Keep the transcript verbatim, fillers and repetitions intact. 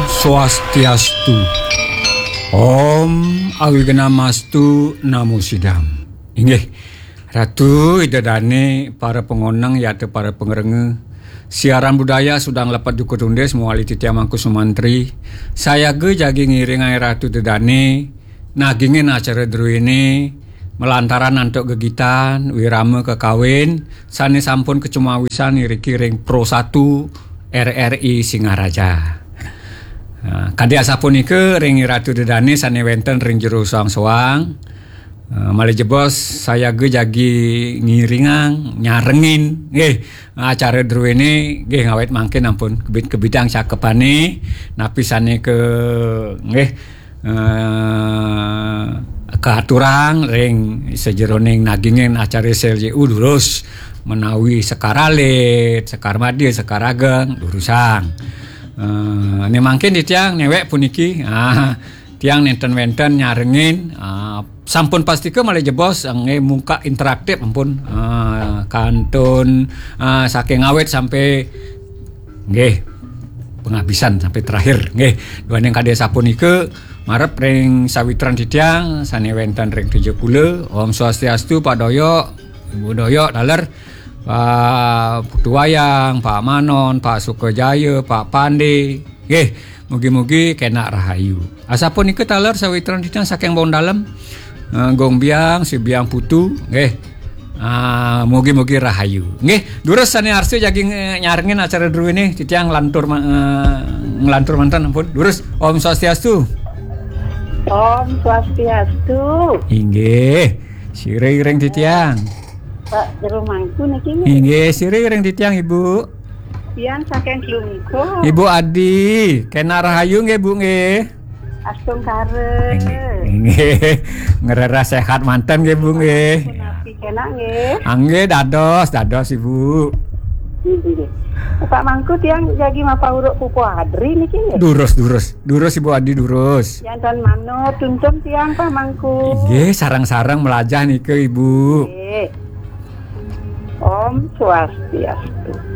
Swastiastu. Om Awignamastu Namo Sidam. Inggih, Ratu Ida Dane, para pangoneng yata para pangrengga. Siaran budaya Sudang Lepet Duku Tundis mawali titiang Mangku Sumantri. Sayaga jagi ngiringang Ratu Ida Dane nagingin acara druene malantaran antuk gegitan wirama kakawin sane sampun kacumawisan iriki ring Pro satu R R I Singaraja. Nah, kadi asapunika ring Ratu Ida Dane sane wenten ring jero soang-soang. Eh, malih jebos sayaga jagi ngiringang, nyarengin nggih acara druene nggih ngawit mangkin ampun kebit-kebitang cakepane napi sane ke nggih eh, kaaturang ring sajeroning nagingin acara S L J U durus menawi sekar alit, sekar madya, sekar ageng durusang. Eh, ne mangkin titiang newek puniki. Ah, tiang nenten wenten nyarengin ah, sampun pastika malih jebos nggih muka interaktif ampun. Ah, kantun ah, saking awit sampai nggih penghabisan sampai terakhir nggih. Duaning kadi sapunika marep ring sawitran titiang sane wenten ring Tejapula. Om Swastiastu Pak Doyok, Ibu Doyok taler, Pak Putu Wayang, Pak Manon, Pak Sukajaya, Pak Pande. Nggih, mugi-mugi kenak rahayu. Asapunika taler sawitran titiang saking Bong Dalem. Eh, Gong Biang, Si Biang Putu, nggih. Ah, mugi-mugi rahayu. Nggih, durus sane arsa jagi nge- nyarengin acara druene titiang nglantur ma- eh, nglantur manten ampun. Durus Om Swastiastu. Om Swastiastu. Inggih. Sira iring titiang. Pak Jero Mangku niki nggih. Inggih, sira iring titiang Ibu. Tiang saking Klungkung. Ibu Adi, kenak rahayu nggih Bu nggih. Astungkara. Inggih. Ngrereh sehat manten nggih Bu nggih. Punapi kenak nggih. Ah, nggih dados, dados Ibu. Nggih. Pak Mangku tiang jagi mapauruk pupu adri niki nggih. Durus, durus. Durus Ibu Adi durus. Tiang tan manut tuntun tiang Pak Mangku. Inggih, sareng-sareng melajah nika Ibu. Nggih. Om Swastiastu.